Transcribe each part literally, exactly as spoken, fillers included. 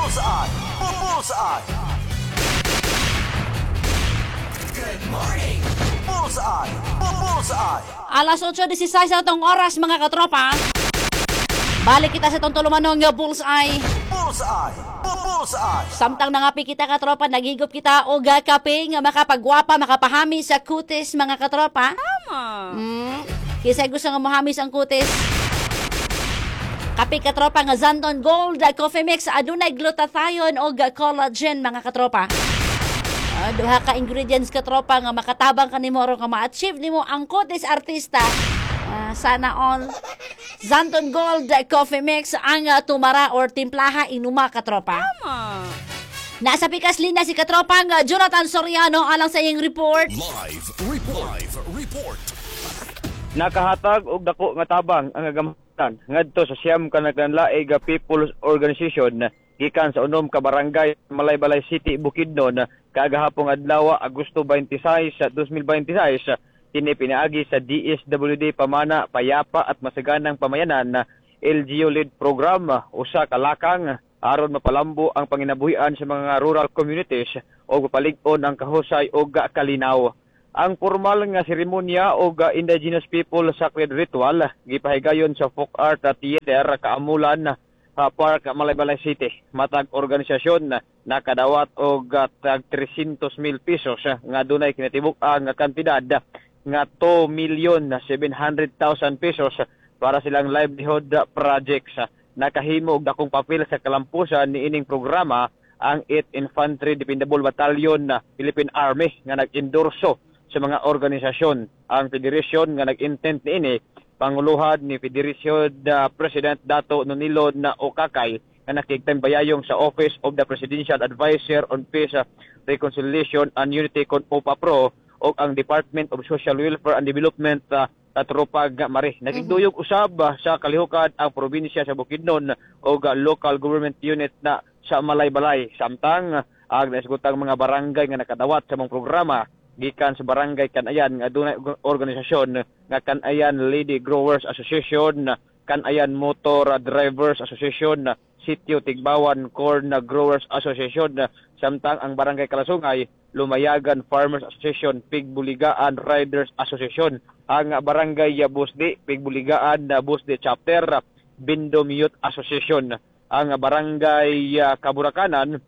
Bullseye. Bullseye. Good morning. Bullseye. Bullseye. Alas otso disisais sa atong oras, mga katropa. Balik kita sa itong tulumanong nga Bullseye. Bullseye. Bullseye. Samtang nangapi kita, katropa, naghigop kita og kape nga makapagwapa, makapahami sa kutis, mga katropa. Tama. Mm. Kinsa gusto nga mohamis ang kutis? Kape, katropa, nga Zanton Gold Coffee Mix, adunay glutathione og collagen, mga katropa. Ah, duha ka ingredients, katropa, nga makatabang kanimo aron nga ma-achieve nimo ang kutis artista. Ah, sana all. Zanton Gold Coffee Mix ang ah, tumara or timplaha inuma, katropa. Tama. Nasa pikas linya si katropang ah, Jonathan Soriano alang sa iyong report. Live report. Live report. Nakahatag og dako nga tabang ang agamhanan ngadto sa siyam ka naglanlaig nga People's Organization gikan sa unom ka barangay, Malaybalay City, Bukidnon kagahapong adlaw, Agosto twenty-six sa twenty twenty-six. Kini pinaagi sa D S W D Pamana Payapa at Masaganang Pamayanan L G U led program, usa ka lakang aron mapalambo ang panginabuhian sa mga rural communities o mapalig-on ang kahusay og kalinaw. Ang formal nga seremonya og Indigenous People Sacred Ritual gipahigayon sa Folk Art Theater, Kaamulan uh, Park, Malaybalay City. Matag organisasyon nakadawat og uh, tag three hundred mil pesos nga dunay kinatibuk-ang nga kantidad nga two million seven hundred thousand pesos para silang livelihood projects. Nakahimo og dakong papel sa kalampusan niining programa ang eighth Infantry Dependable Battalion na Philippine Army nga nag-endorso sa mga organisasyon. Ang federasyon nga nag-intent niini, panguluhan ni Federation uh, President Dato Nonilo na Okakay nga nakigtambayayong sa Office of the Presidential Advisor on Peace, Reconciliation and Unity kon OPAPRO o ang Department of Social Welfare and Development uh, katropag Mari. Nakigduyog usab uh, sa kalihukan ang probinsya sa Bukidnon o uh, local government unit na sa Malaybalay. Samtang ang naisgutang mga barangay nga nakadawat sa mga programa gikan sa Barangay Kanayan nga adunay organisasyon nga Kanayan Lady Growers Association, Kanayan Motor Drivers Association, Sitio Tigbawan Corn Growers Association, samtang ang Barangay Kalasungay, Lumayagan Farmers Association, Pigbuligaan Riders Association, ang Barangay Busdi, Pigbuligaan Busdi Chapter, Bindom Youth Association, ang Barangay Kaburakanan,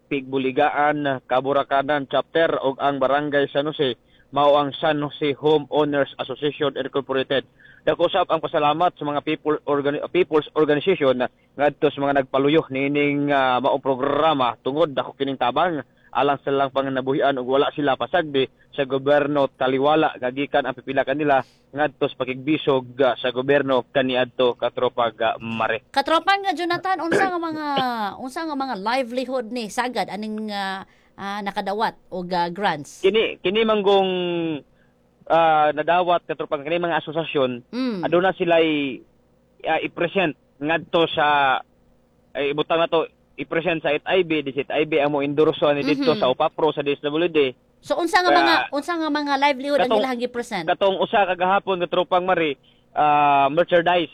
Pigbuligaan Kaburakanan Chapter ug ang Barangay San Jose mao ang San Jose Homeowners Association Incorporated. Dako usab ang pasalamat sa mga people organi- people's organization ngadto sa mga nagpaluyo niining uh, maong programa tungod dako kining tabang alang sa lang panginabuhian ug wala sila pasagdi sa gobyerno taliwala gagikan ang pipila kanila ngadto sa pakigbisog uh, sa gobyerno kaniadto, katropag uh, Mare. Katropa nga Jonathan, unsa nga mga unsa nga mga livelihood ni sagad aning uh, uh, nakadawat og uh, grants? Kini kini manggong uh, nadawat, katropang, kini mga asosasyon Mm. aduna sila uh, i-present ngadto sa ay ibutang na to i-present sa H I B di sa H I B ang mo endorso ni didto Mhm. sa OPAPRO, sa D S W D. So unsa nga Kaya- mga unsa nga mga livelihood ang Katong- ilahang gi-present? Katong usa kagahapon, katropang Mari, ah, merchandise.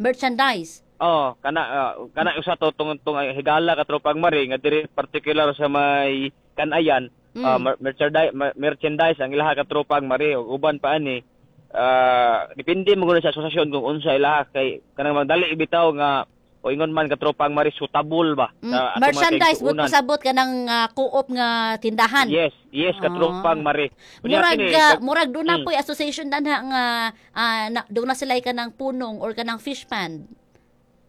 Merchandise. Oh, kana ah, kana usa to tungod tong higala, katropang Mari, nga diri particular sa may Kanayan, Mm. ah, mer- merchandise merchandise ang ilaha, katropang Mari, ug uban pa ani ah, depende mo gud sa asosasyon kung unsa ilaha kay kanang magdali ibitaw nga o ingon man, katropang Mari, suitable ba Mm. sa atong mga Merchandise but kaigsuonan. pasabot kanang uh, co-op nga tindahan. Yes, yes, katropang Ah. Mari. Unya Murag kini, uh, kag- murag doon na Mm. po'y association danha nga ah, na, doon na sila kanang punong or kanang fish pond.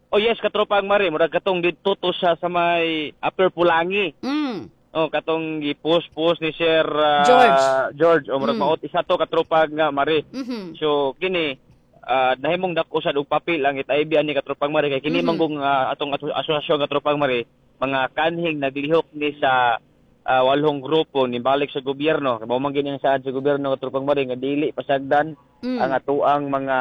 Oh yes, katropang Mari, murag katong didto to sa sa may Upper Pulangi. Mm. Oh, katong gi-post-post ni Sir ah, George. George, o murag Mm. maot isa to, katropang nga Mari. Mhm. So kini ah, nahimong dako sad og papel ang H I B ani, katropang Mari, kay kini Mhm. manggong ah, atong aso- asosasyon, katropang Mari, mga kanhing naglihok ni sa ah, walhong grupo ni balik sa gobyerno. Kay mao man gini ang saad sa gobyerno, katropang Mari, nga dili pasagdan Mm. ang atuang mga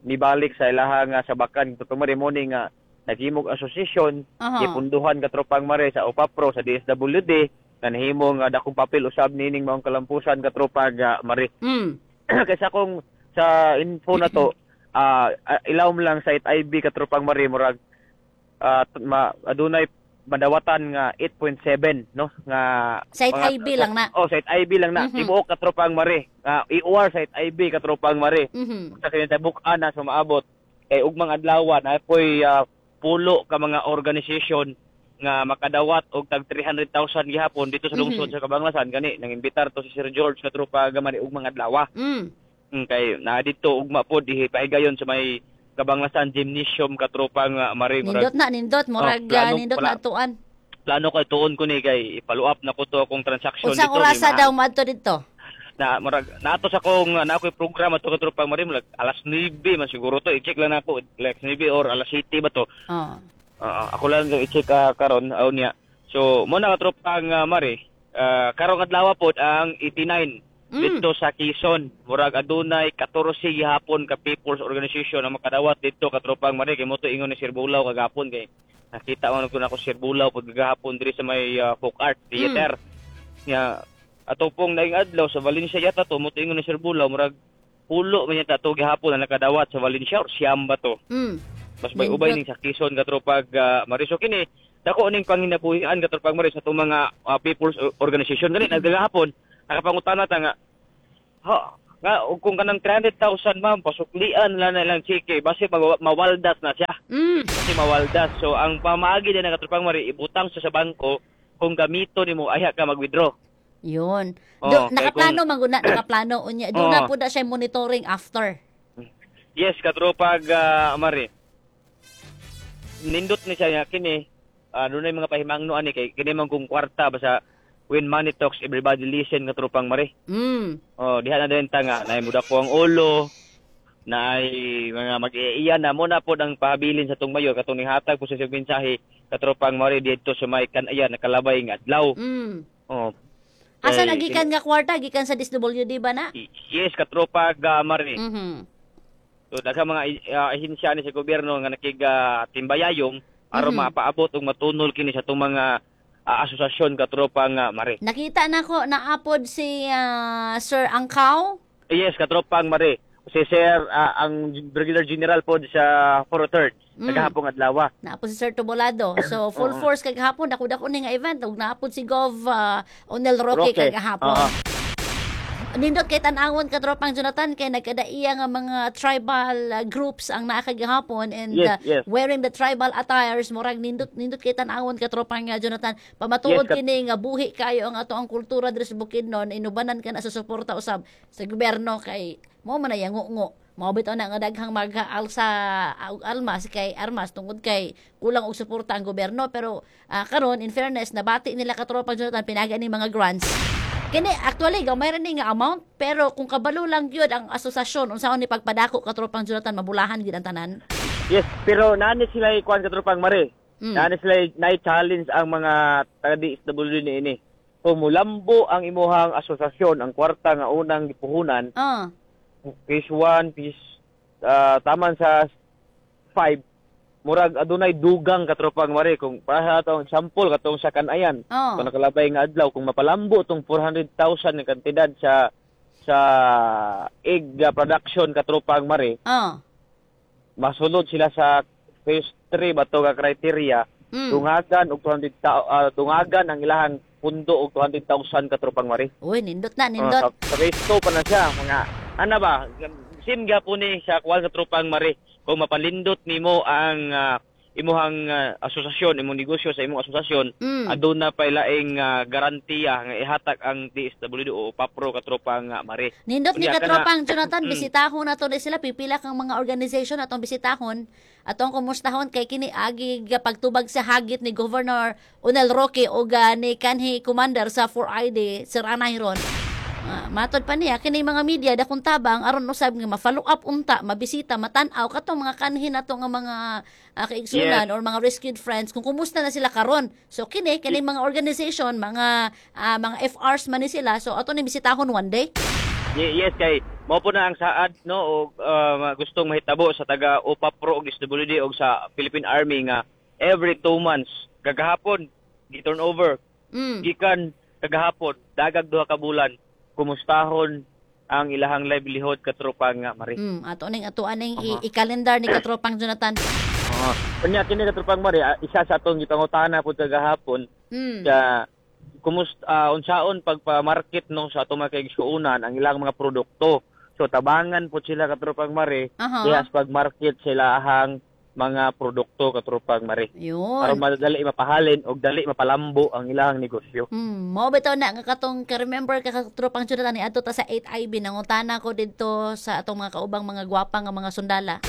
nibalik sa ilaha nga sabakan, katropang Mari, mo ni nga naghimog association, Aha. gipunduhan, katropang Mare, sa OPAPRO, sa D S W D nga nahimo nga dakong papel usab nining maong kalampusan, katropang ah, Mare. Mm. Kaysa kung sa info na to ah ah, ilawom lang sa H I B, katropang Mare, murag ah, t- ma, adunay madawatan nga eight point seven, no, nga Site mga- I B lang na. Oh, site I B lang na. Mhm. Tibuok, katropang Mare. Nga E O R site I B, katropang Mare. Mhm. Sa kinatabuk-an na sumaabot kay ugmang adlaw na poy ah, pulo ka mga organisasyon nga makadawat og tag three hundred thousand gihapon dito sa lungsod Mhm. sa Kabanglasan. Gani nang imbitar to si Sir George, katropa Mare, ugmang adlaw. Mm. Mm, kay na dito ugma pod ipahigayon sa may Kabanglasan Gymnasium, katropang uh, Mare. Murag Nindot na, nindot. Murag Oh, plano ah, nindot pala. na atuan. Plano kay tuon ko ni kay i-follow up na ko to akong transaction Unsang dito. orasa May ma- daw madto dito? Na murag naato sa akong na ako'y programa to, katropang Mare, murag alas nuwebe man siguro to. I-check lang nako, alas nuwebe or alas siyete ba to. Oh. Ah, ako lang yung i-check uh, karon aw niya. So mo na, katropang uh, Mare, uh, karong adlaw pod ang eighty-nine Mm. dito sa Quezon. Murag adunay katorse gihapon ka people's organization ang makadawat dito, katropang Mare, kay mo to ingon ni Sir Bulaw kagapon, kay nakita man ko nako Sir Bulaw pud gahapon diri sa may uh, folk art theater. Nya ato pong naing adlaw sa Valencia yata to, mo to ingon ni Sir Bulaw, murag pulo man yata to gihapon na nakadawat sa Valencia or siyam ba to. Mm. Mas may ubay ning sa Quezon, katropag uh, Mare. So kini dako ning panginabuhian, katropang Mare, sa atong mga uh, people's organization. Gani nagagahapon nakapangutana ta nga ha nga og kung kanang three hundred thousand, ma'am, pasuklian lang na lang cheke base mag- mawaldas na siya Mm. kasi mawaldas. So ang pamaagi din ng katropang Mare, ibutang siya sa bangko, kung gamito nimo ayha ka mag-withdraw. Yun. Oh, Do, kay nakaplano man gud na, nakaplano unya. Do na Oo. po na siya monitoring after. Yes, katropag uh, Mare. Nindot ni siya nga kini uh, dunay mga pahimangno ani kay kini man kung kwarta, basta when money talks, everybody listen, katropang Mare. Mm. Oh, diha na din ta nga naay muda ko ang ulo, naay mga mag-iiyan na mo na pod ang pahabilin sa tong mayor katong nihatag po sa siyang mensahe, katropang Mare, didto sa may kanayan nakalabay nga adlaw. Mm. Oh. Asa Kay- nagikan nga kwarta? Gikan sa D S W D ba na? Yes, katropag uh, Mare. Mhm. So daghang mga uh, ahensya ni sa gobyerno nga nakiga timbayayong aron Mhm. mapaabot ug matunol kini sa atong mga uh, asosasyon, katropang uh, Mare. Nakita na ko naapod si ah, Sir Angkaw. Yes, katropang Mare. Si Sir ah, ang Brigadier General po sa four oh three Mm. kagahapon adlaw. Naapod si Sir Tubolado. So full Oo. force kagahapon, dako-dako ni nga event ug naapod si Gov ah, Onel Roque Roque. kagahapon. Oo. Nindot kay tan-awon, katropang Jonathan, kay nagkadaiya nga mga tribal uh, groups ang naa kagahapon and Yes, uh, yes. wearing the tribal attires. Murag nindot nindot kay tan-awon, katropang uh, Jonathan, pamatuod Yes, kat- kini nga buhi kayo ang ato ang kultura diri sa Bukidnon, inubanan ka na sa suporta usab sa gobyerno kay mo man ay ngo mao bitaw na nga daghang mag-alsa og almas kay armas tungod kay kulang og suporta ang gobyerno. Pero ah, karon, in fairness, nabati nila, katropang Jonathan, pinaga ni mga grants. Kini actually gamay ra ni nga amount, pero kung kabalo lang gyud ang asosasyon unsaon ni pagpadako, katropang Jonathan, mabulahan gyud ang tanan. Yes, pero naani sila ikuan, katropang Mare. Mm. Naani sila na challenge ang mga taga D S W D ni ini. Kung mulambo ang imuhang asosasyon, ang kwarta nga unang gipuhunan, Ah. phase one, phase ah, taman sa five, murag adunay dugang, katropang Mare. Kung para sa atong example katong sa Kanayan, Oh. kung nakalabay nga adlaw, kung mapalambo tong four hundred thousand nga kantidad sa sa egg ah, production, katropang Mare, Ah. masunod sila sa phase three ba to nga criteria, Mm. dungagan og two hundred ta- ah, dungagan ang ilahang pundo og two hundred thousand, katropang Mare. Uy, nindot na, Oh, nindot. sa, sa phase two pa na siya, mga ana ba, sim gyapon ni sa kuan, katropang Mare, kung mapalindot nimo ang ah, imuhang ah, asosasyon, imong negosyo sa imong asosasyon, Mm. aduna pa laing ah, garantiya nga ihatag ang D S W D o PAPRO, katropang ah, Mare. Nindot ni Unya, kana- katropang Jonathan, Mm. bisitahon nato ni sila, pipila kang mga organization atong bisitahon, atong kumustahon kay kini agi ga pagtubag sa hagit ni Governor Onel Roque o ga ni kanhi commander sa four I D Sir Anayron. Uh, matod pa niya kini mga media dakong tabang aron usab nga ma-follow up unta, mabisita, matan-aw katong mga kanhi nato nga mga uh, kaigsunan or mga rescued friends kung kumusta na sila karon. So kini kini mga organization, mga ah, mga F Rs man ni sila, so ato ni bisitahon one day. Ye- Yes, kay mao po na ang saad, no, og uh, gustong mahitabo sa taga OPAPRO og D S W D og sa Philippine Army nga every two months. Kagahapon gi turn over Mm. gikan kagahapon, dagag duha ka bulan, kumustahon ang ilahang livelihood, katropa nga Mare. Mm, ato ning ato aning i- i-calendar ni katropang Jonathan. Oo. Oh, unya kini, katropang Mari, ah, isa sa atong gipangutana pud kagahapon Mm. sa kumusta uh, unsaon pagpa-market no sa atong mga kaigsuonan ang ilang mga produkto. So tabangan po sila, katropang Mari, Aha. diha sa pag-market sila ang mga produkto, katropang Mari. Yun. Para madali mapahalin og dali mapalambo ang ilang negosyo. Hmm, mao bitaw na nga katong ka-remember ka, katropang Jonathan, ni adto ta sa eight I B, nangutana ko didto sa atong mga kaubang mga gwapa nga mga sundala.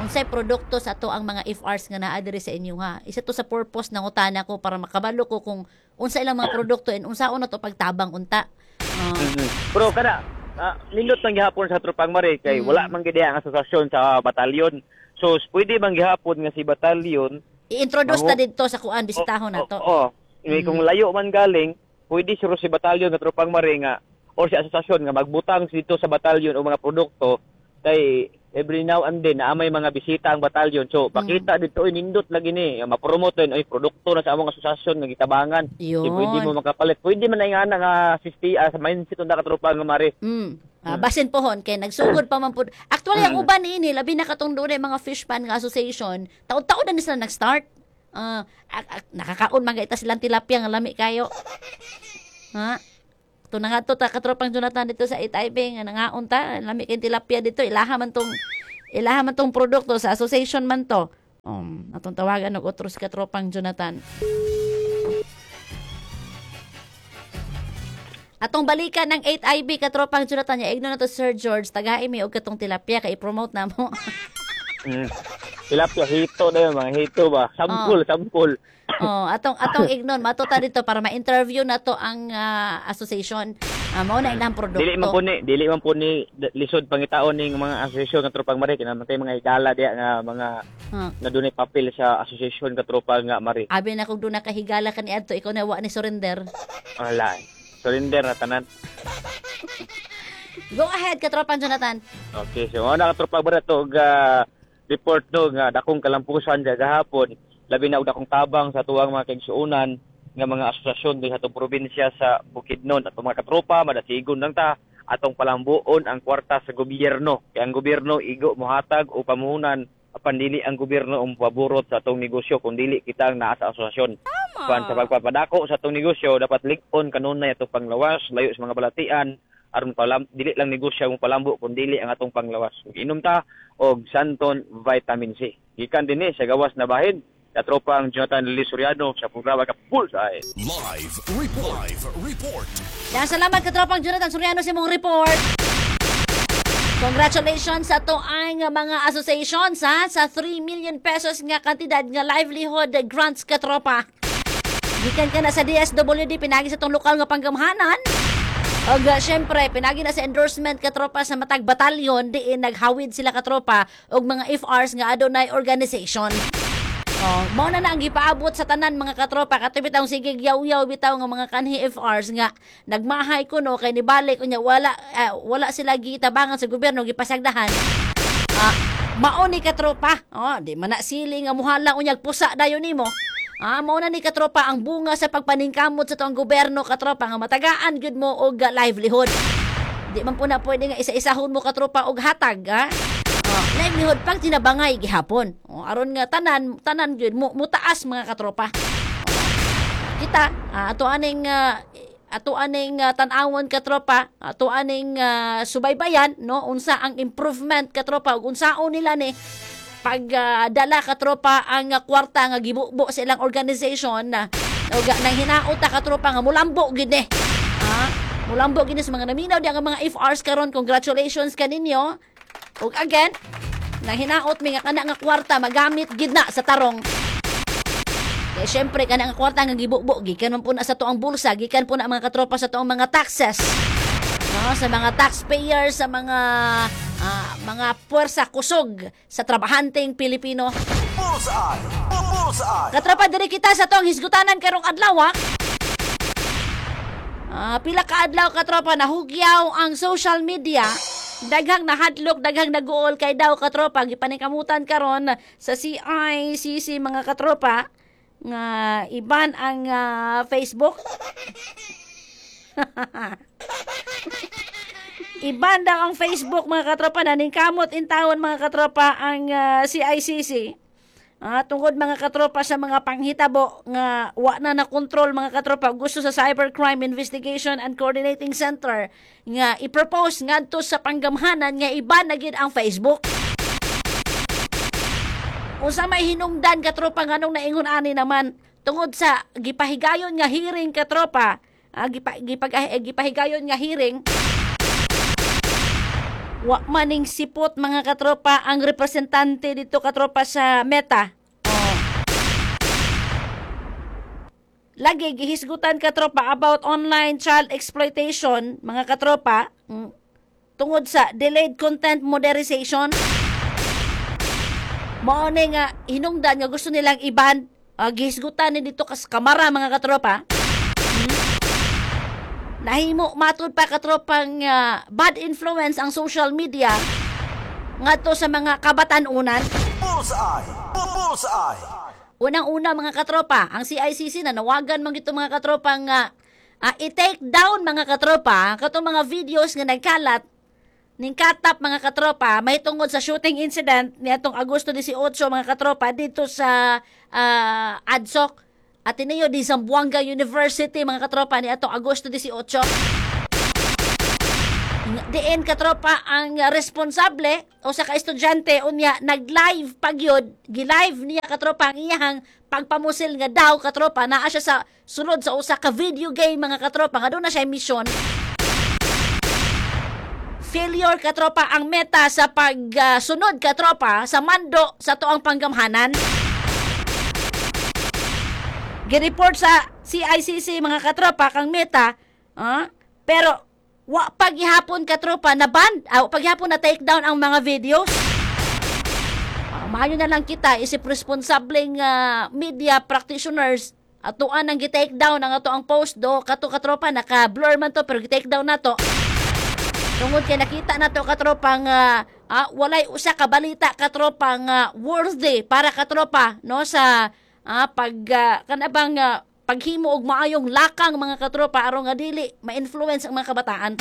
Unsay produkto sa ato ang mga F Rs nga naa diri sa inyo ha? Isa to sa purpose nangutana ko para makabalo ko kung unsa ilang mga produkto and unsaon na to pagtabang unta. Ah, Mhm. Pero kada uh, nindot man gihapon sa tropang Mari kay Mm. wala man gid ang asosasyon sa batalyon. So pwede man gihapon nga si batalyon I-introduce ta Mangu- didto sa kuan, bisitahon na to. Oo. Oh, Kung layo man galing, pwede siguro si batalyon nga, tropang Mari, nga or si asosasyon nga magbutang dito sa batalyon o mga produkto kay every now and then naa may mga bisita ang batalyon. So pakita dito, oy, nindot lagi ni, ma-promote din, oy, produkto na sa among asosasyon nga gitabangan. Yun. Di pwede mo makapalit. Pwede man na nga nga sixty uh, sa mindset unda katropa nga Mari. Mm. Ah, basin pohon kay nagsugod pa man pud. Actually, ang uban niini, labi na katong dunay mga fishpan nga association, taon-taon na ni sila nag-start. Ah, ak- ak- nakakaon man ita silang tilapia nga lami kayo. Ha? Ito na nga to, ta katropang Jonathan, dito sa eight I B nga nangaon ta, lami kay tilapia dito, ilaha man tong ilaha man tong produkto sa association man to. Um, atong tawagan og otros, katropang Jonathan. Atong balikan ng eight I B, katropang Jonathan, ya igno na to Sir George, tagai mi og katong tilapia kay i-promote na mo. Mm. Tilapia hito na yun, mga hito ba? Sampul, sampul. Oh, atong atong ignon matuta dito para ma-interview na to ang ah, association. Ah, mao na ilang produkto. Dili man po ni, dili man po ni d- lisod pangitaon ning mga asosasyon nga, tropang Mari, kay kay mga higala diya nga mga Ah. na dunay papel sa asosasyon, katropa nga Mari. Abi na kung doon nakahigala ka ni adto, ikaw na wa ni surrender. Wala. Surrender na tanan. Go ahead, katropang Jonathan. Okay, so mao na, katropa Mari, to og ah, report no nga dakong kalampusan gahapon, labi na og dakong tabang sa tuwang mga kaigsuonan nga mga asosasyon dinhi sa atong probinsya sa Bukidnon. Atong mga katropa, madasigon lang ta, atong palambuon ang kwarta sa gobyerno kay ang gobyerno igo mohatag o pamuhunan, apan dili ang gobyerno ang paborot sa atong negosyo kung dili kita ang naa sa asosasyon. Pan sa pagpapadako sa atong negosyo, dapat lig-on kanunay atong panglawas layo sa mga balatian aron palam dili lang negosyo ang palambo kun dili ang atong panglawas. Inom ta og Santon Vitamin C. Gikan dinhi sa gawas na bahin, katropang Jonathan Lee Soriano sa programa ka Bullseye. Live Report. Live Report. Yan, salamat, katropang Jonathan Soriano, sa imong report. Congratulations sa ato ang mga associations ha, sa three million pesos nga kantidad nga livelihood grants, katropa. Gikan ka na sa D S W D, pinagi sa itong lokal nga panggamhanan. Og uh, syempre, pinagi na sa endorsement, katropa, sa matag batalyon diin naghawid sila, katropa, og mga F Rs nga adunay organization. Oh, mao na na ang gipaabot sa tanan mga katropa, kato bitaw sige yaw-yaw bitaw nga mga kanhi F Rs nga nagmahay kuno kay nibalik unya wala ah, wala sila gitabangan sa gobyerno, gipasagdahan. Ah, mao ni, katropa. Oh, di man na sili nga muhala unyag pusa dayon nimo. Ah, mao na ni, katropa, ang bunga sa pagpaningkamot sa tuang gobyerno, katropa, nga matagaan gyud mo og ah, livelihood. Di man po na pwede nga isa-isahon mo, katropa, og hatag, ha? Oh, livelihood pag tinabangay gihapon. Oh, aron nga tanan tanan gyud mo mutaas, mga katropa. Oh, kita ah, ato aning ah, ato aning ah, tan-awon, katropa, ato aning ah, subaybayan no unsa ang improvement, katropa, ug unsaon nila ni pag ah, dala, katropa, ang ah, kwarta nga gibubo sa ilang organization na ug ah, nang hinaot ta, katropa, nga mulambo gid ni. Ha? Mulambo gid ni sa mga naminaw di ang mga F Rs karon, congratulations kaninyo. Ug again, nang hinaot mi nga kana nga kwarta magamit gid na sa tarong. Kaya syempre, kana nga kwarta nga gibubo gikan man po na sa tuang bulsa, gikan po na mga katropa sa tuang mga taxes. No, sa mga taxpayers, sa mga ah, mga puwersa kusog sa trabahanteng Pilipino. Bullseye! Bullseye! Katropa, diri kita sa tuang hisgutanan karong adlaw, ha? Ah, pila ka adlaw, katropa, nahugyaw ang social media. Daghang nahadlok, daghang naguol kay daw, katropa, gipaningkamutan karon sa C I C C, mga katropa, nga iban ang ah, Facebook. Iban daw ang Facebook, mga katropa, naningkamot in taon, mga katropa, ang ah, C I C C. Ah, tungod, mga katropa, sa mga panghitabo nga wa na na kontrol, mga katropa, gusto sa Cybercrime Investigation and Coordinating Center nga i-propose ngadto sa panggamhanan nga i-ban na gyud ang Facebook. Unsa may hinungdan, katropa, nganong naingon ani naman? Tungod sa gipahigayon nga hearing, katropa, ah, gipa, gipag, eh, gipahigayon nga hearing, wa maning sipot, mga katropa, ang representante dito, katropa, sa Meta. Oh. Lagi gihisgutan, katropa, about online child exploitation, mga katropa, mm, tungod sa delayed content moderation. Mao ni nga hinungdan nga gusto nilang i-ban, uh, gihisgutan ni dito kas kamara, mga katropa. Nahimo matud pa, katropang, uh, bad influence ang social media ngadto sa mga kabatan-unan. Bullseye. Bullseye. Unang-una, mga katropa, ang C I C C na nawagan man gito, mga katropa, nga uh, i-take down, mga katropa, katong mga videos nga nagkalat ning katap, mga katropa, may tungod sa shooting incident niadtong Agosto labing walo, mga katropa, dito sa uh, ADSOC, Ateneo de Zamboanga University, mga katropa, ni atong Agosto labing walo. Diin, katropa, ang responsable o sa ka-estudyante unya nag-live pagyud, gi-live niya, katropa, ang iyahang pagpamusil nga daw, katropa, naa siya sa sulod sa usa ka video game, mga katropa, nga doon na siya mission. Failure, katropa, ang Meta sa pagsunod, katropa, sa mando sa tuang panggamhanan. Gireport sa C I C C, mga katropa, kang Meta, ah, pero wa paghihapon, katropa, na ban, ah, paghihapon na take down ang mga videos. Ah, maayo na lang kita isip responsableng ah, media practitioners, atuan ang gi-take down ang ato ang post do kato, katropa, naka-blur man to pero gi-take down na to. Tungod kay nakita na to, katropa, nga ah, walay usa ka balita, katropa, nga worthy para, katropa, no, sa ah, pag ah, kanabang ah, paghimo og maayong lakang, mga katropa, aron nga dili ma-influence ang mga kabataan.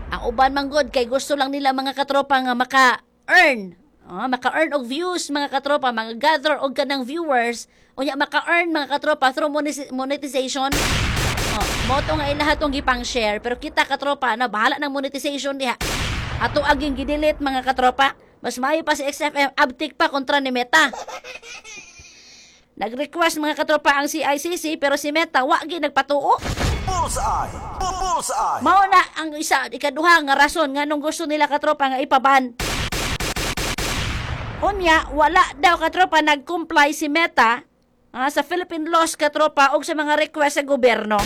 Ang uban man gud kay gusto lang nila, mga katropa, nga maka-earn. Oh, maka-earn og views, mga katropa, mga gather og kanang viewers, unya maka-earn, mga katropa, through monetization. Oh, mo to nga ilaha tong gipang share, pero kita, katropa, na bahala ng monetization diha. Ato aging gidelete, mga katropa. Mas maayo pa si X F M abtik pa kontra ni Meta. Nag-request, mga katropa, ang C I C C pero si Meta wa gi nagpatuo. Bullseye. Bullseye. Mao na ang isa ikaduha nga rason nganong gusto nila, katropa, nga ipaban. Unya, wala daw, katropa, nag-comply si Meta ah, sa Philippine laws, katropa, og sa mga request sa gobyerno.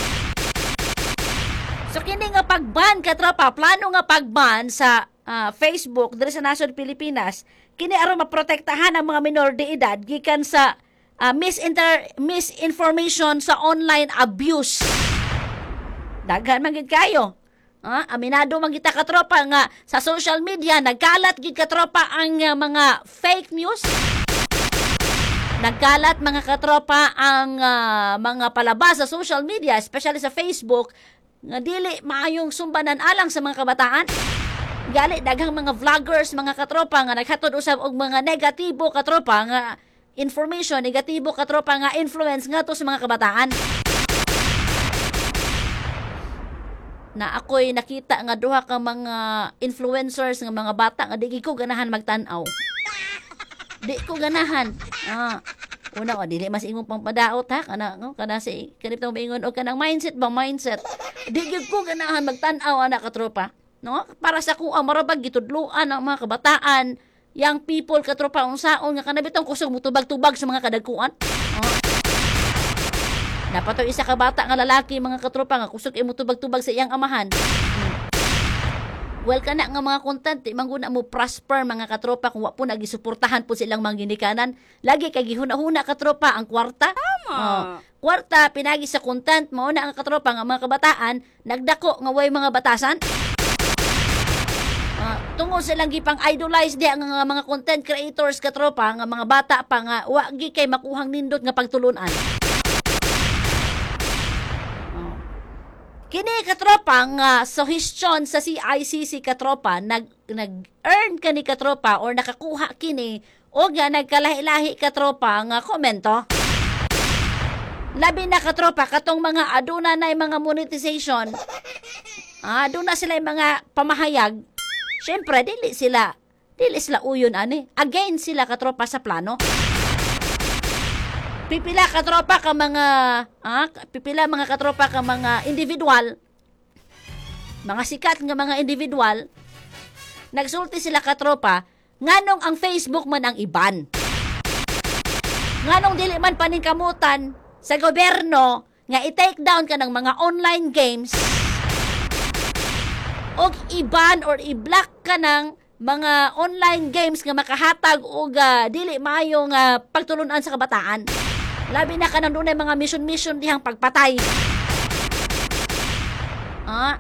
So kini nga pagban, katropa, plano nga pagban sa ah, Facebook diri sa nasod Pilipinas, kini aron maprotektahan ang mga minor de edad gikan sa ah, misinter misinformation sa online abuse. Daghan man gid kayo. Ah, aminado man kita, katropa, nga sa social media nagkalat gid, katropa, ang ah, mga fake news. Nagkalat, mga katropa, ang ah, mga palabas sa social media, especially sa Facebook, nga dili maayong sumbanan alang sa mga kabataan. Gali daghang mga vloggers, mga katropa, nga naghatod usab og mga negatibo, katropa, nga information, negatibo, katropa, nga influence ngadto sa mga kabataan. Na ako'y nakita nga duha ka mga influencers nga mga bata nga di ko ganahan magtan-aw. Di ko ganahan. Ah, una o dili mas imong pangpadaot ha, kana no, kana si kanito moingon og kanang mindset ba, mindset. Di gyud ko ganahan magtan-aw ana, katropa. No? Para sa kuha marabag gitudloan ang mga kabataan, young people, katropa, unsaon nga kana bitong kusog mutubag-tubag sa mga kadagkuan. Oh. Napatoy isa ka bata nga lalaki, mga katropa, nga kusog imo tubag-tubag sa iyang amahan. Hmm. Well, kana nga mga content di man guna mo prosper, mga katropa, kung wa po nagisuportahan po silang mga ginikanan. Lagi kay gihuna-huna, katropa, ang kwarta. Tama. Oh, kwarta pinagi sa content. Mao na ang katropa nga mga kabataan nagdako nga way mga batasan. Ah, tungod silang gipang idolize di ang nga mga content creators, katropa, nga mga bata pa nga wa gi kay makuhang nindot nga pagtulunan. Oh. Kini, katropa, nga suhestyon sa C I C C, katropa, nag nag-earn kani, katropa, or nakakuha kini O nga nagkalahi-lahi, katropa, nga komento. Labi na, katropa, katong mga aduna na mga monetization. Ah, aduna sila yung mga pamahayag. Syempre, dili sila dili sila uyon ani. Against sila, katropa, sa plano. Pipila, katropa, ka mga ah, pipila mga katropa ka mga individual, mga sikat nga mga individual, nagsulti sila, katropa, nganong ang Facebook man ang i-ban. Nganong dili man paningkamutan sa gobyerno nga i-take down ka ng mga online games og i-ban or i-block ka ng mga online games nga makahatag og ah, dili maayong uh, pagtulunan sa kabataan. Labi na kanang dunay mga mission-mission dihang pagpatay. Ah,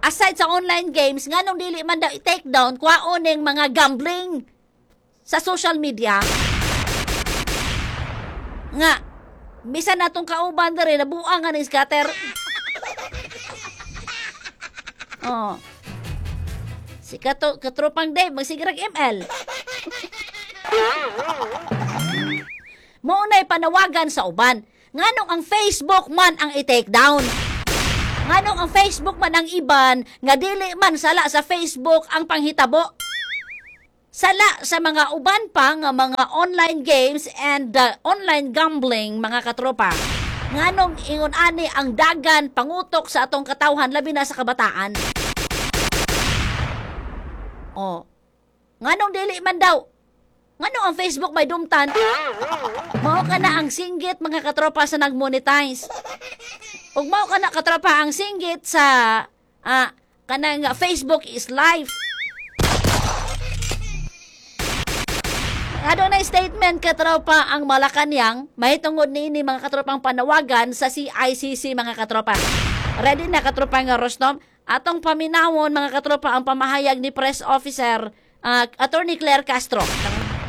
aside sa online games, nganong dili man daw i-take down kwaon ning mga gambling sa social media? Nga, bisan natong kauban diri nabuang nga ning scatter. Oh. Si kato, katropang Dave, magsigrag M L. Mao na'y panawagan sa uban. Nganong ang Facebook man ang i-take down? Nganong ang Facebook man ang i-ban nga dili man sala sa Facebook ang panghitabo? Sala sa mga uban pa nga mga online games and uh, online gambling, mga katropa. Nganong ingon ani ang dagan pangutok sa atong katawhan, labi na sa kabataan? Oh. Nganong dili man daw? Nganong ang Facebook may dumtan? Mao ka na ang singgit, mga katropa, sa nag-monetize. Ug mao ka na, katropa, ang singgit sa ah, kanang "Facebook is life." Ano na statement, katropa, ang Malacanang mahitungod niini, mga katropang panawagan sa C I C C, mga katropa. Ready na, katropa nga Rostom? Atong paminawon, mga katropa, ang pamahayag ni Press Officer ah, Attorney Claire Castro.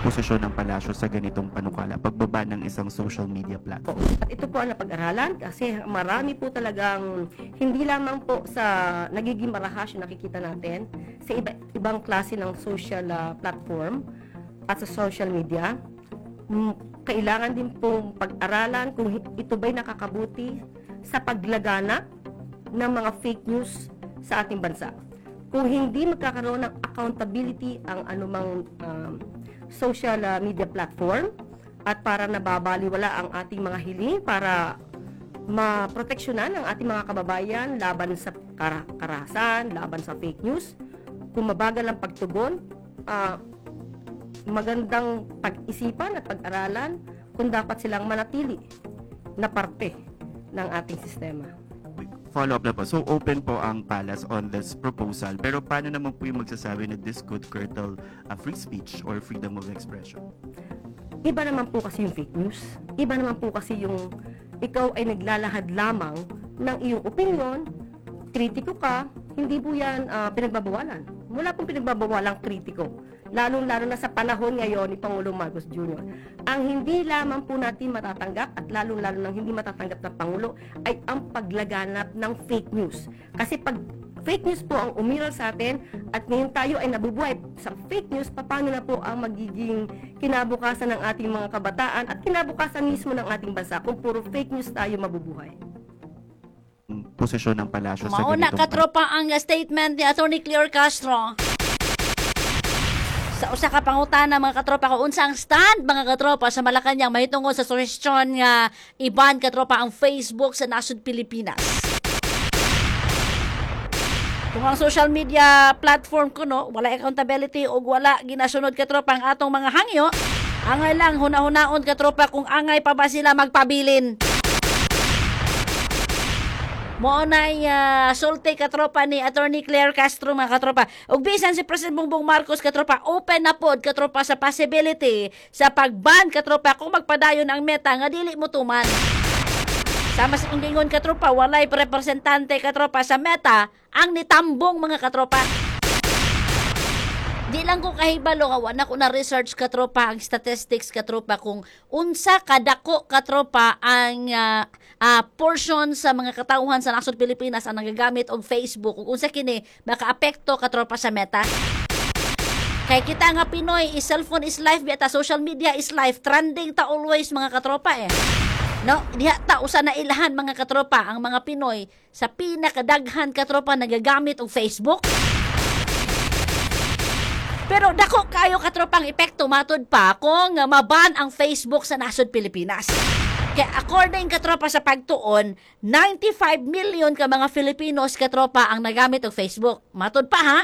Posisyon ng palasyo sa ganitong panukala, pagbaba ng isang social media platform? At ito po ang napag-aralan kasi marami po talagang hindi lamang po sa nagiging marahas yung nakikita natin sa iba, ibang klase ng social ah, platform at sa social media. Mm, Kailangan din pong pag-aralan kung hi- ito ba'y nakakabuti sa paglaganap ng mga fake news sa ating bansa. Kung hindi magkakaroon ng accountability ang anumang um, social uh, media platform at para nababaliwala ang ating mga hiling para maproteksyonan ang ating mga kababayan laban sa kara- karahasan, laban sa fake news, kung mabagal ang pagtugon, ah, magandang pag-isipan at pag-aralan kung dapat silang manatili na parte ng ating sistema. Follow up na po. So open po ang palace on this proposal. Pero paano naman po yung magsasabi na this could curtail uh, free speech or freedom of expression? Iba naman po kasi yung fake news. Iba naman po kasi yung ikaw ay naglalahad lamang ng iyong opinion, kritiko ka, hindi po yan ah, pinagbabawalan. Wala pong pinagbabawalang kritiko. Lalong-lalo na sa panahon ngayon ni Pangulong Marcos Junior Ang hindi lamang po natin matatanggap at lalong-lalo nang hindi matatanggap ng Pangulo ay ang paglaganap ng fake news. Kasi pag fake news po ang umiral sa atin at ngayon tayo ay nabubuhay sa fake news, paano na po ang magiging kinabukasan ng ating mga kabataan at kinabukasan mismo ng ating bansa kung puro fake news tayo mabubuhay? Posisyon ng palasyo sa Mao na, ganitong katropa, ang statement ni Attorney Claire Castro. Sa usa ka pangutana, mga katropa, kung unsa ang stand, mga katropa, sa Malacanang mahitungod sa suhestyon nga i-ban, katropa, ang Facebook sa nasod Pilipinas. Kung ang social media platform kuno wala accountability o wala ginasunod, katropa, ang atong mga hangyo, angay lang huna-hunaon, katropa, kung angay pa ba sila magpabilin. Mao na uh, sulti, katropa, ni Attorney Claire Castro, mga katropa. Ug bisan si President Bongbong Marcos, katropa, open na pod, katropa, sa possibility sa pagban, katropa, kung magpadayon ang Meta nga dili mo tuman. Sama sa kung gingon, katropa, walay representante, katropa, sa Meta ang nitambong, mga katropa. Di lang ko kahibalo nga wala ko na research, katropa, ang statistics, katropa, kung unsa kadako, katropa, ang ah, ah, portion sa mga katawhan sa nasod Pilipinas ang nagagamit og Facebook ug unsa kini makaapekto, katropa, sa Meta. Kay kita nga Pinoy, is cellphone is life, biya ta, social media is life, trending ta always, mga katropa eh. No, diha ta usa na ilahan, mga katropa, ang mga Pinoy sa pinakadaghan, katropa, nagagamit og Facebook. Pero dako kayo, katropang, epekto matud pa kung uh, maban ang Facebook sa nasod Pilipinas. Kaya according, katropa, sa pagtuon, ninety-five million ka mga Filipinos, katropa, ang nagamit og Facebook. Matud pa ha?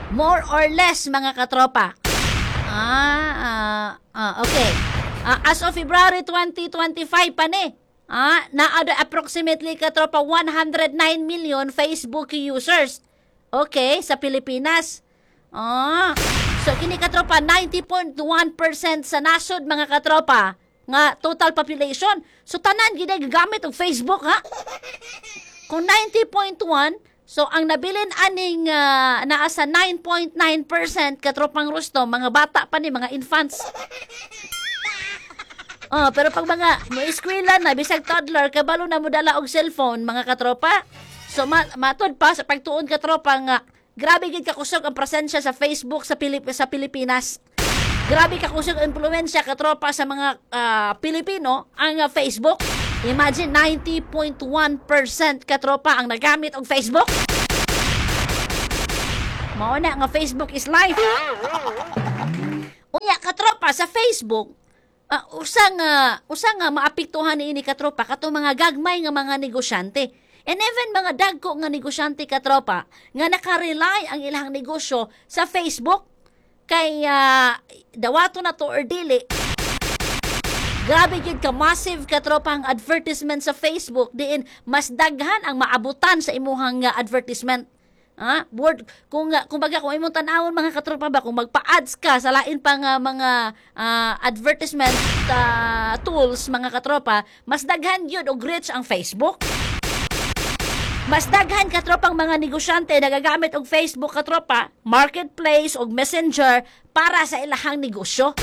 More or less, mga katropa. Ah, ah, ah okay. Ah, as of February twenty twenty-five pa ni. Ah, naa approximately, katropa, one hundred nine million Facebook users. Okay, sa Pilipinas. Ah, so kini, katropa, ninety point one percent sa nasod, mga katropa, nga total population. So tanan gid ay gagamit og Facebook ha. Kung ninety point one, so ang nabilin aning uh, naa sa nine point nine percent, katropang rusto, mga bata pa ni, mga infants. Oh, pero pag mga mo eskwela na, bisag toddler, kabalo na mo dala og cellphone, mga katropa. So ma matud pa sa pagtuon, katropa, nga grabe gid kakusog ang presensya sa Facebook sa Pilip sa Pilipinas. Grabe kakusog ang impluwensya, katropa, sa mga ah, Pilipino ang ah, Facebook. Imagine, ninety point one percent, katropa, ang nagamit og Facebook. Mao na nga Facebook is life. Unya, katropa, sa Facebook, ah, usa nga usa nga maapektuhan niini, katropa, katong mga gagmay nga mga negosyante. And even mga dagko nga negosyante, katropa, nga nakarely ang ilang negosyo sa Facebook kay ah, dawato na to or dili, grabe gid ka massive, katropa, ang advertisement sa Facebook diin mas daghan ang maabutan sa imuhang ah, advertisement. Ah, word kung uh, kumbaga kung imong tan-awon, mga katropa ba, kung magpa-ads ka sa lain pa nga mga ah, advertisement ah, tools, mga katropa, mas daghan gyud og reach ang Facebook. Mas daghan, katropang, mga negosyante nagagamit og Facebook, katropa, marketplace og Messenger para sa ilahang negosyo.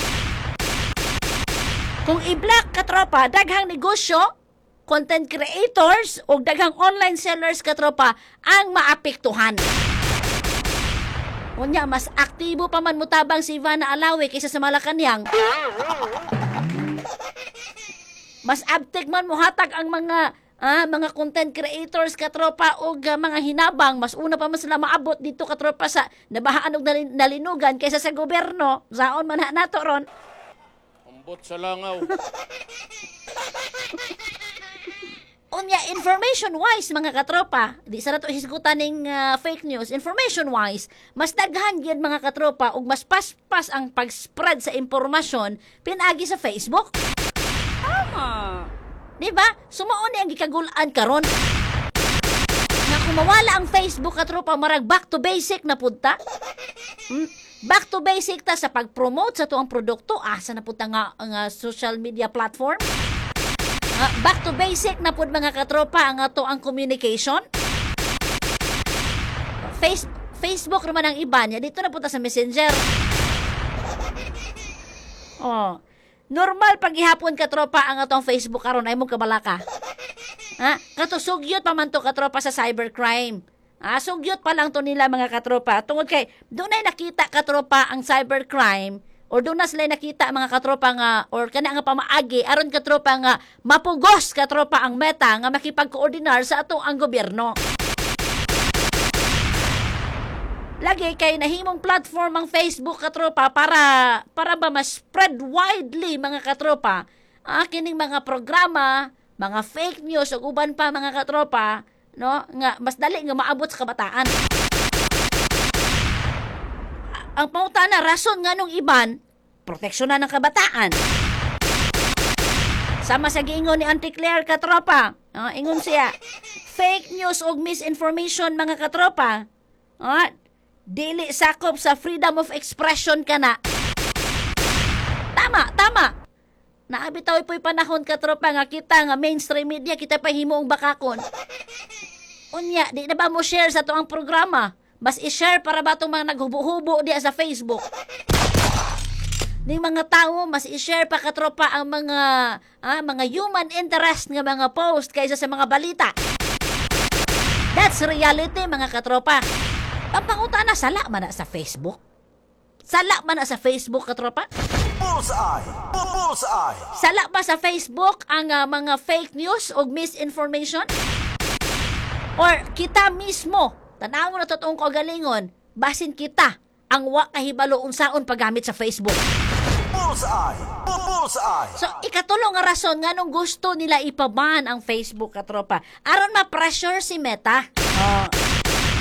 Kung i-block, katropa, daghang negosyo, content creators o daghang online sellers, katropa, ang maapektuhan. Unya, mas aktibo pa man mutabang si Ivana Alawi kaysa sa Malacanang. Mas abtik man muhatag ang mga ah, mga content creators, katropa, og ah, mga hinabang, mas una pa man sila maabot dito, katropa, sa nabahaan og nalin- nalinugan kaysa sa gobyerno. Saon man na nato ron? Ambot sa langaw. Unya, information wise, mga katropa, di sa nato hisgutan ning ah, fake news, information wise, mas daghan gyud, mga katropa, ug mas paspas ang pag-spread sa impormasyon pinaagi sa Facebook. Tama. Di ba? So mao ni ang gikagul-an karon. Nga kung mawala ang Facebook, katropa, marag back to basic na pud ta. Hmm? Back to basic ta sa pag-promote sa tuang produkto, asa na pud ta nga, nga social media platform? Ah, back to basic na pud, mga katropa, ang ato ang communication. Face, Facebook naman ang iba niya. Dito na punta sa Messenger. Oh. Normal paghihapon, katropa, ang atong Facebook karon ay mo kabalaka. Ha? Kato sugyot pa man to, katropa, sa cybercrime. Ah, sugyot pa lang to nila, mga katropa. Tungod kay doon ay nakita, katropa, ang cybercrime or doon na sila nakita, mga katropa, nga or kana nga pamaagi aron, katropa, nga mapugos, katropa, ang Meta nga makipag-koordinar sa atong ang gobyerno. Lagi kay nahimong platform ang Facebook, katropa, para para ba ma-spread widely, mga katropa, ah, kining mga programa, mga fake news ug uban pa, mga katropa, no, nga mas dali nga maabot sa kabataan. Ang pangutana, rason nga nung iban, proteksyonan ng kabataan. Sama sa giingon ni Auntie Claire, katropa. Ah, ingon siya, fake news ug misinformation, mga katropa, ah, dili sakop sa freedom of expression kana. Tama, tama. Naa bitaw po'y panahon, katropa, nga kita nga mainstream media, kita pa himuong bakakon. Unya, di na ba mo share sa tuang programa? Mas i-share para ba itong mga naghubo-hubo diya sa Facebook? Ning mga tao mas i-share pa, katropa, ang mga ah, mga human interest nga mga post kaysa sa mga balita. That's reality, mga katropa. Ang pangutana, sala man na sa Facebook? Sala man na sa Facebook, katropa? Bullseye. Bullseye. Sala ba sa Facebook ang ah, mga fake news o misinformation? Or kita mismo, tanaw na totoong kaugalingon, basin kita ang wa kahibalo unsaon paggamit sa Facebook. Bullseye. Bullseye. So, ikatulo nga rason nganong gusto nila ipaban ang Facebook, katropa. Aron ma-pressure si Meta. Oh.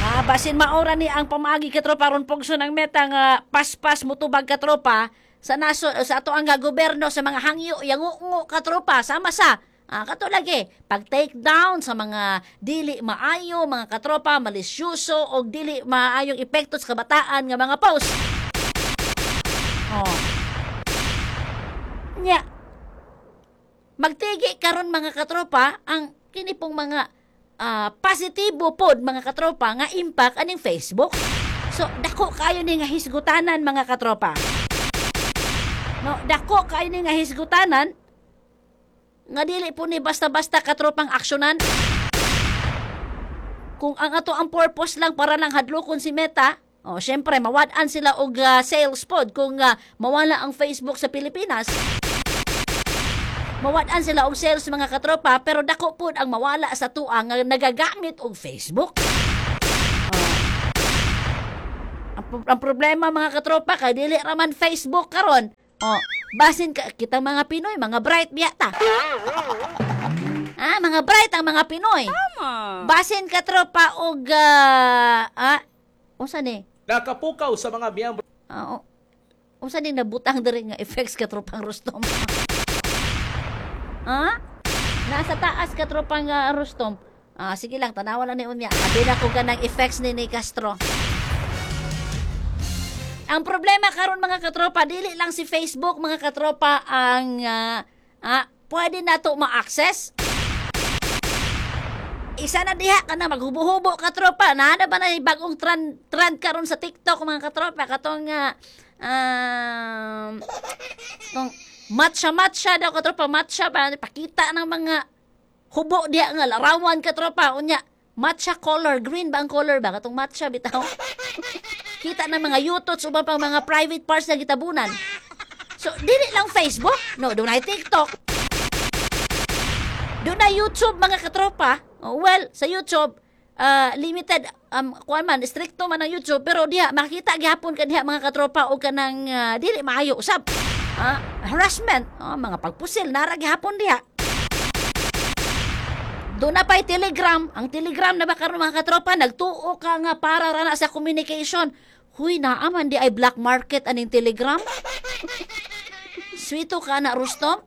Ah, basin maora ni ang pamaagi, katropa, aron pugso ng Meta nga paspas mutubag, katropa, sa naso sa ato ang gobyerno sa mga hangyo yangungo, katropa, sama sa Ah, kato lagi, pag take down sa mga dili maayo, mga katropa, malisyoso o dili maayong epekto sa kabataan nga mga post. Oh. Nya, magtigi karon, mga katropa, ang kini pong mga ah, positibo pod, mga katropa, nga impact aning Facebook. So dako kayo ni nga hisgutanan, mga katropa. No, dako kayo ni nga hisgutanan nga dili po ni basta-basta, katropang, aksyonan. Kung ang ato ang purpose lang para lang hadlokon si Meta, oh, syempre mawad-an sila og ah, sales pod kung ah, mawala ang Facebook sa Pilipinas. Mawad-an sila og sales, mga katropa, pero dako pod ang mawala sa tuang nga nagagamit og Facebook. Oh. Ang, pro- ang problema, mga katropa, kay dili raman Facebook karon. Oh, basin ka, kita mga Pinoy, mga bright biyata. Ah, mga bright ang mga Pinoy. Tama. Basin, katropa, og ah, ah unsa ni? Nakapukaw sa mga miyembro Ah, oh, unsa ni nabutang diri nga effects, katropang Rustom? Ah? Nasa taas, katropang uh, Rustom. Ah, sige lang, tanawa lang ni unya. Abi na ko kanang effects ni ni Castro. Ang problema karon, mga katropa, dili lang si Facebook, mga katropa, ang ah, ah, pwede nato ma-access. Isa na diha ka na maghubo-hubo, katropa. Na na ba na yung bagong trend, trend karon sa TikTok, mga katropa, katong uh, um, tong matcha matcha daw, katropa, matcha ba pakita ng mga hubo diha nga larawan, katropa. Unya matcha color, green ba ang color ba katong matcha bitaw, kita ng mga yutots uban pang mga private parts na gitabunan. So dili lang Facebook, no, dunay TikTok, dunay YouTube, mga katropa. Oh, well, sa YouTube uh, limited um kuan man, stricto man ang YouTube, pero diha makita gihapon ka diha, mga katropa, og kanang uh, dili maayo usab, ah, harassment, oh, mga pagpusil nara gihapon diha. Doon na pa'y Telegram. Ang Telegram na ba karon, mga katropa, nagtuo ka nga para ra na sa communication. Huy, naaman di ay black market aning Telegram. Sweeto ka na, Rustom.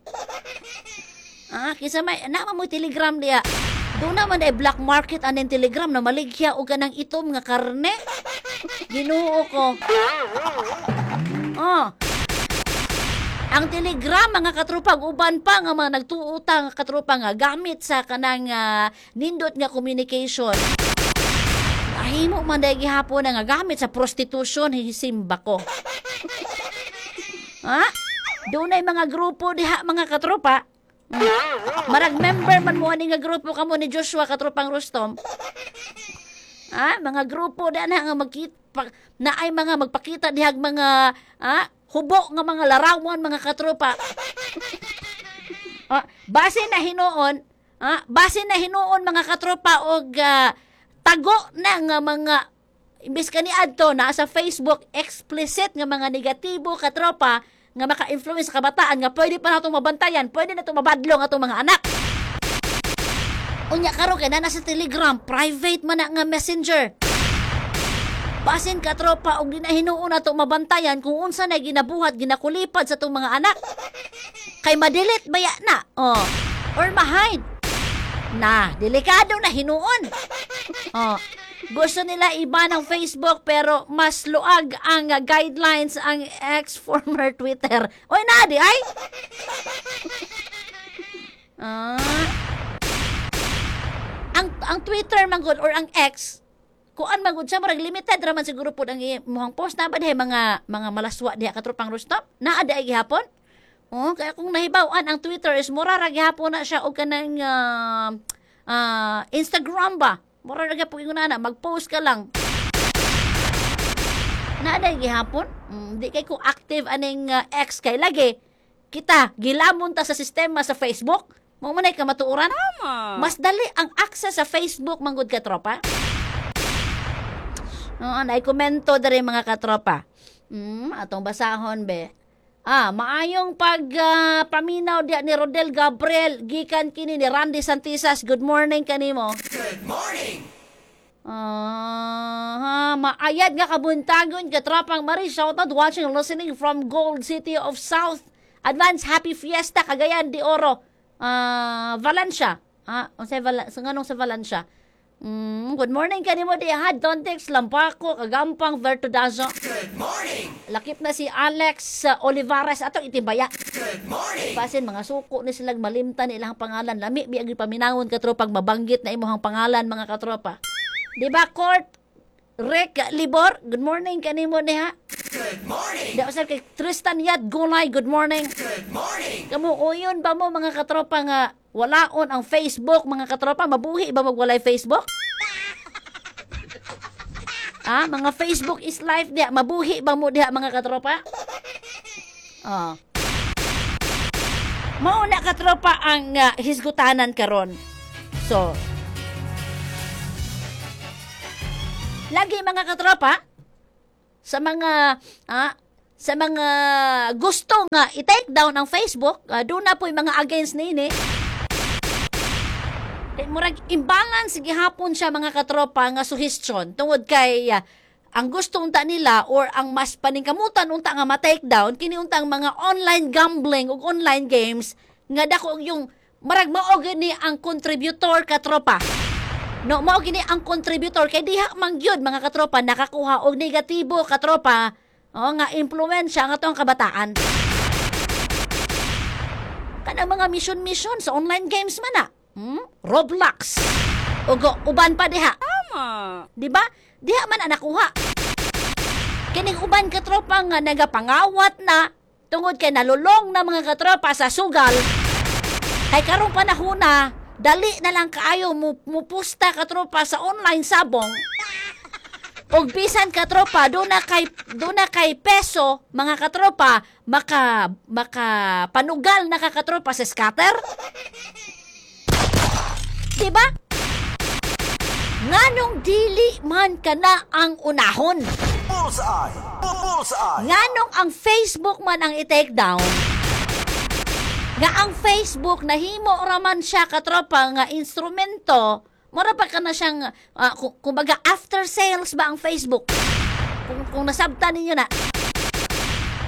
Ah, kinsa may naa mo Telegram diya. Doon naman ay black market aning Telegram na maligya og kanang itom nga karne. Ginoo ko. Oh. Ang Telegram, mga katropa, uban pa nga mga nagtuutang, katropa, nga gamit sa kanang ah, nindot nga communication. Ahimo man dahil gihapon na nga gamit sa prostitution, hisimba ko. Ha? Dunay mga grupo diha, mga katropa. Mm. Marag member man mo ani nga grupo kamo ni Joshua, katropang Rustom. Ha? Mga grupo da na nga magkita na ay mga magpakita dihag mga ah, hubo nga mga larawan, mga katropa. Ah, base na hinuon, ah, base na hinuon, mga katropa, og ah, tago na nga mga imbes kani adto naa sa Facebook explicit nga mga negatibo, katropa, nga maka-influence sa kabataan nga pwede pa natong mabantayan, pwede na itong mabadlong atong mga anak. Unya karon kay naa sa Telegram, private man na nga messenger. Basin, katropa, og di na hinuon nato mabantayan kung unsa na ginabuhat, ginakulipad sa atong mga anak. Kay ma-delete baya na? Oh. Or ma-hide. Na, delikado na hinuon. Oh. Gusto nila iba ng Facebook pero mas luag ang uh, guidelines ang ex-former Twitter. Oy, na di ay. Ah. Ang ang Twitter man gud or ang X, kuan man gud siya, murag limited ra man siguro pud ang imong post na ba dihay mga mga malaswa diha, katropang Rustom, naa di ay gihapon. Oh, kaya kung nahibaw-an ang Twitter is mura ra gihapon na siya og kanang ah, ah, Instagram ba. Mura ra gyapon ingon ana, mag-post ka lang. Naa gihapon? Mm, di kay ko active aning uh, X kay lagi. Kita gilamon ta sa sistema sa Facebook. Mao man ay kamatuoran. Tama. Mas dali ang access sa Facebook manggod, katropa. Oo, naay komento diri, mga katropa. Mm, atong basahon be. Ah, maayong pag ah, paminaw diya ni Rodel Gabriel gikan kini ni Randy Santisas. Good morning kanimo. Good morning. Ah, maayad nga kabuntagon, katropang Maris. Shout out, watching and listening from Gold City of South. Advance Happy Fiesta, Cagayan de Oro. Ah, Valencia. Ah, unsay Val sa nganong sa Valencia? Mm, good morning kanimo diha, Dontex Lampako, Kagampang Vertudazo. Good morning. Lakip na si Alex uh, Olivares atong itibaya. Good morning. Basin mga suko ni silang malimtan ilang pangalan. Lami biya gyud paminawon, katropang, mabanggit na imong pangalan, mga katropa. Di ba, Court Rick Libor, good morning kanimo diha. Good morning. Di usab kay Tristan Yad Gulay, good morning. Good morning. Kamo uyon ba mo, mga katropa, nga walaon ang Facebook, mga katropa, mabuhi ba magwalay Facebook? Ah, mga Facebook is life diha, mabuhi ba mo diha, mga katropa? Ah. Mao na, katropa, ang uh, hisgutanan karon. So, lagi, mga katropa, sa mga ah, sa mga gusto nga i-take down ang Facebook, uh, doon na po yung mga against nini. Eh, murag imbalance gihapon siya, mga katropa, nga suhestyon tungod kay ah, ang gusto unta nila or ang mas paningkamutan unta nga ma-take down kini unta ang mga online gambling ug online games nga dako yung marag mao gini ang contributor, katropa. No, mao gini ang contributor kay diha man gyud, mga katropa, nakakuha og negatibo, katropa, o nga impluwensya ang atong kabataan. Kanang mga mission-mission sa online games man na. Hmm? Roblox. Ug uban pa diha. Tama. Di ba? Diha man ang nakuha. Kining uban, katropa, nga nagapangawat na tungod kay nalulong na, mga katropa, sa sugal. Kay karong panahon na, dali na lang kaayo mo mupusta, katropa, sa online sabong. Og bisan, katropa, do na kay do na kay peso, mga katropa, maka maka panugal na ka, katropa, sa scatter. Di ba? Nganong dili man kana ang unahon? Bullseye. Bullseye. Nganong ang Facebook man ang i-take down? Nga ang Facebook nahimo raman siya, katropa, nga instrumento, mura pa ka na siyang ah, ku- kumbaga after sales ba ang Facebook? Kung, kung nasabtan ninyo na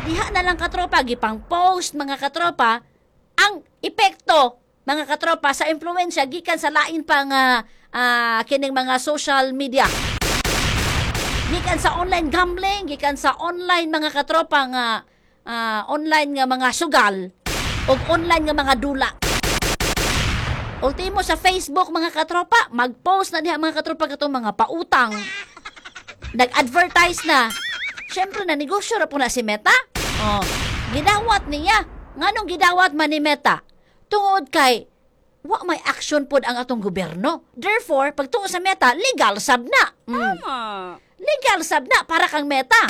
diha na lang, katropa, gipang post, mga katropa, ang epekto, mga katropa, sa impluwensya gikan sa lain pa nga ah, kining mga social media, gikan sa online gambling, gikan sa online, mga katropa, nga ah, online nga mga sugal ug online nga mga dula. Ultimo sa Facebook, mga katropa, mag-post na diha, mga katropa, katong mga pautang. Nag-advertise na. Siyempre na negosyo ra po na si Meta. Oh, gidawat niya. Nganong gidawat man ni Meta? Tungod kay wa may action pod ang atong gobyerno. Therefore, pagtuo sa Meta, legal sab na. Mm. Tama. Legal sab na para kang Meta.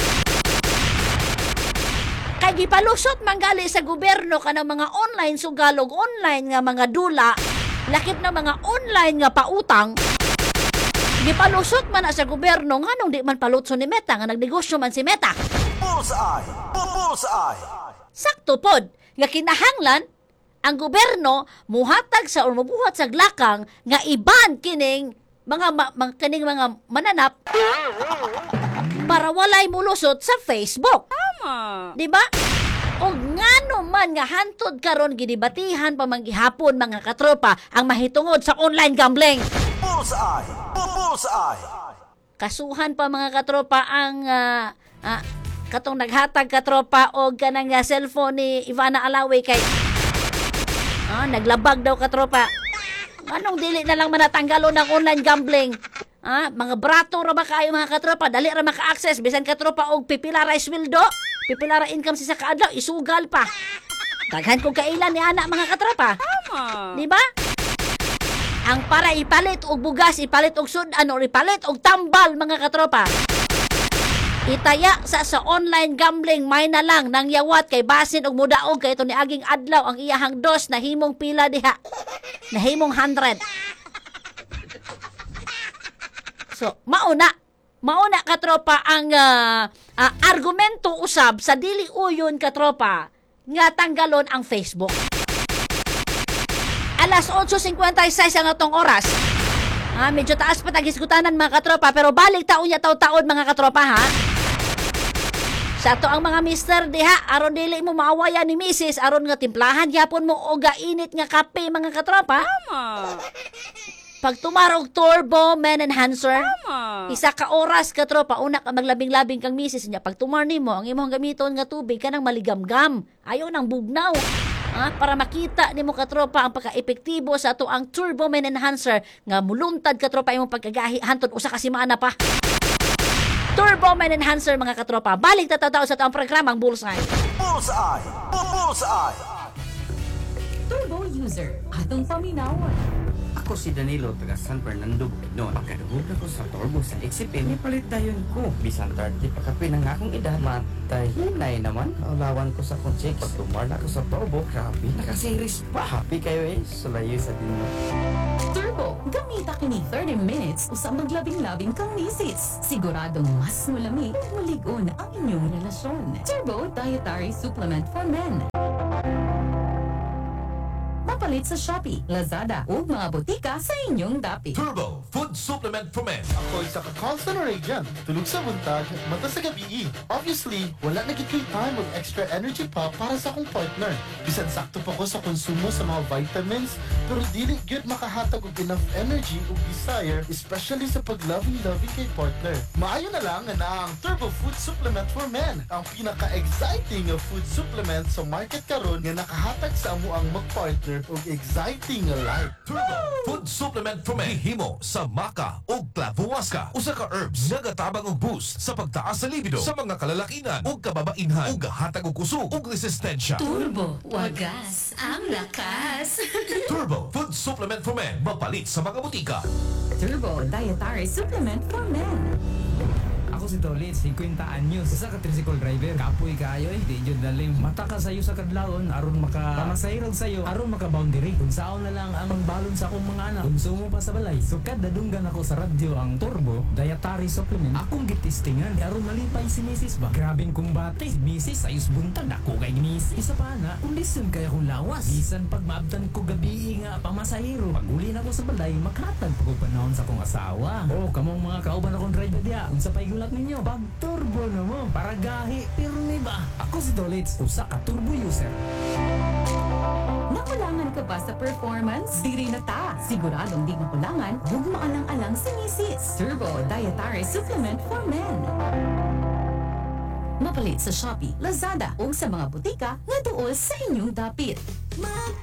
Kay gipalusot manggali sa gobyerno kanang mga online sugal ug online nga mga dula, lakip na mga online nga pautang. Gipalusot man na sa gobyerno, nganong di man palutso ni Meta nga nagnegosyo man si Meta? Bullseye. Bullseye. Sakto pod nga kinahanglan ang gobyerno muhatag sa or mubuhat sa glakang nga iban kining mga ma, mga kining mga mananap para walay mulusot sa Facebook. Tama. Di ba? O ngano man nga hantod karon gidibatihan pa man gihapon, mga katropa, ang mahitungod sa online gambling. Bullseye. Bullseye. Kasuhan pa, mga katropa, ang ah, ah, katong naghatag, katropa, og kanang ah, cellphone ni Ivana Alawi kay ah, naglabag daw, katropa. Anong dili na lang manatanggalon ng online gambling? Ah, mga brato ra ba kaayo, mga katropa, dali ra maka-access bisan, katropa, og pipila ra sweldo, pipila ra income sa kaadlaw, isugal pa. Daghan kong kailan ni ana, mga katropa. Tama. Di ba? Ang para ipalit og bugas, ipalit og sudan or ipalit og tambal, mga katropa. Itaya sa sa online gambling, may na lang nang yawat kay basin og mudaog kay ito ni aging adlaw ang iyahang dos nahimong pila diha? Nahimong one hundred. So, mauna mauna, katropa, ang ah, ah, argumento usab sa dili uyon, katropa, nga tanggalon ang Facebook. Alas otso singkwenta y sais ang atong oras. Ah, medyo taas pa taghisgutanan, mga katropa, pero balik taon niya taon-taon, mga katropa, ha. Sa ato ang mga mister diha, aron dili mo maawayan ni misis, aron nga timplahan gyapon mo og init nga kape, mga katropa. Tama. Pag tumarog Turbo Man Enhancer, Tama. isa ka oras, katropa, una ka maglabing-labing kang misis niya. Pag tumar nimo, ang imong gamiton nga tubig kanang maligamgam. Ayaw nang bugnaw. Ah, para makita nimo, katropa, ang pagka-epektibo sa ato ang Turbo Man Enhancer nga muluntad, katropa, imong pagkagahi hantod usa ka semana pa. Turbo Man Enhancer, mga katropa. Balik tatatao sa atong programang Bullseye. Bullseye. Bullseye. Turbo user, atong paminawon. Ako si Danilo, taga San Fernando, Bukidnon. Pagkadungog ako sa Turbo sa X F M, nipalit dayon ko. Bisan thirty pa kapin ang akong edad, matay hinay naman. Kaulawan ko sa akong chicks. Pag tumar na ako sa Turbo, grabe, nakaseries pa. Happy kayo eh, sulayo sa dinyo. Turbo, gamita kini thirty minutes usa maglabing-labing kang misis. Siguradong mas mulami ug mulig-on ang inyong relasyon. Turbo Dietary Supplement for Men. Mapalit sa Shopee, Lazada ug mga botika sa inyong dapit. Turbo Food Supplement for Men. Ako isa ka call center agent. Tulog sa buntag, mata sa gabi. Obviously, wala na gid ko'y time og extra energy pa para sa akong partner. Bisan sakto pa ko sa konsumo sa mga vitamins, pero dili gyud makahatag og enough energy ug desire, especially sa pag-loving-loving kay partner. Maayo na lang nga naa ang Turbo Food Supplement for Men, ang pinaka-exciting nga food supplement sa market karon nga nakahatag sa amo ang mag-partner og exciting nga life. Turbo Food Supplement for Men. Gihimo sa maca ug clavuasca. Usa ka herbs nagatabang og boost sa pagtaas sa libido sa mga kalalakinan ug kababainhan ug gahatag og kusog ug resistensya. Turbo, wagas ang lakas. Turbo Food Supplement for Men. Mapalit sa mga botika. Turbo Dietary Supplement for Men. Ako si Tolit, singkwenta anyos. Usa ka tricycle driver. Kapoy kaayo eh, di jud lalim. Mata ka sayo sa kadlawon aron maka pamasahirog sayo, aron maka boundary. Kung saon na lang ang balon sa akong mga anak, konsumo pa sa balay. So kada dunggan ako sa radyo ang Turbo Dietary Supplement, akong gitistingan aron malipay si Missus ba. Grabeng kumbate. Si Missus ayos buntag ako kay Missus. Isa pa na, kondisyon kay akong lawas. Bisan pag maabtan ko gabi nga pamasahiro, pag uli na ko sa balay, makatag pag panahon sa akong asawa. Oh, kamong mga kauban akong driver diya. Unsa pa'y gulat ninyo? Pag turbo na mo, para gahi, pirmi ba? Ako si Dolitz, usa ka turbo user. Nakulangan ka ba sa performance? Diri na ta! Siguradong di makulangan, ug maalang-alang si Missus Turbo Dietary Supplement for Men. Mapalit sa Shopee, Lazada ug sa mga botika nga duol sa inyong dapit. Mag